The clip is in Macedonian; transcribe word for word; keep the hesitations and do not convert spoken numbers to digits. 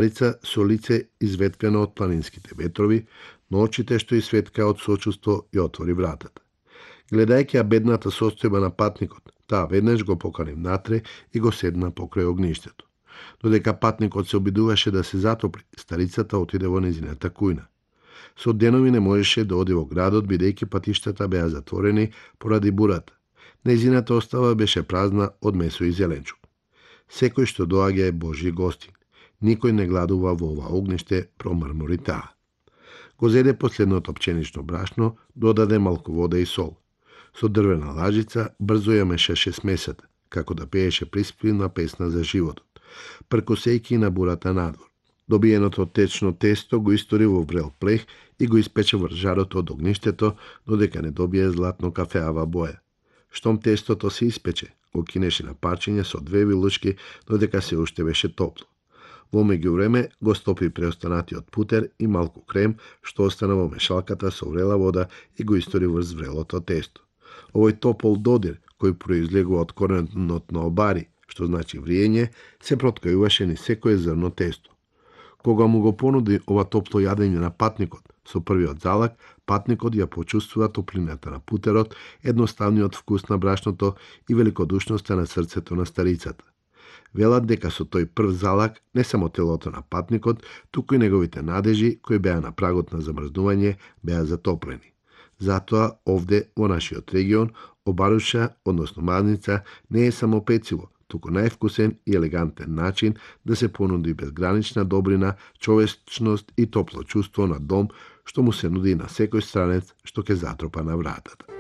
Старица со лице изветкано од планинските ветрови, но очите што изсветка од сочувство ја отвори вратата. Гледајќи ја бедната состојба на патникот, таа веднаш го покани внатре и го седна покрај огништето. Додека патникот се обидуваше да се затопли, старицата отиде во незината кујна. Со денови не можеше да оди во градот, бидејќи патиштата беа затворени поради бурата. Незината остава беше празна од месо и зеленчук. Секој што доаѓа е Божји гостин. Никој не гладува во ова огниште, промрмори таа. Го зеде последното пченично брашно, додаде малку вода и сол. Со дрвена лажица брзо ја мешаше смесата, како да пееше приспивна песна за животот, пркосејки на бурата надвор. Добиеното течно тесто го истори во врел плех и го испече врз жарот од огништето, додека не добие златно кафеава боја. Штом тестото се испече, го кинеше на парчиња со две вилучки, додека се уште беше топло. Во меѓувреме го стопи преостанатиот путер и малку крем, што остана во мешалката со врела вода и го истори врз врелото тесто. Овој топол додир, кој произлегува од коренот на обари, што значи вриење, се проткајуваше ни секое зрно тесто. Кога му го понуди ова топло јадење на патникот, со првиот залак, патникот ја почувствува топлината на путерот, едноставниот вкус на брашното и великодушноста на срцето на старицата. Велат дека со тој прв залак не само телото на патникот, туку и неговите надежи, кои беа на прагот на замрзнување, беа затоплени. Затоа овде, во нашиот регион, обаруша, односно мазница, не е само пецило, туку највкусен и елегантен начин да се понуди безгранична добрина, човечност и топло чувство на дом, што му се нуди на секој странец што ќе затропа на вратата.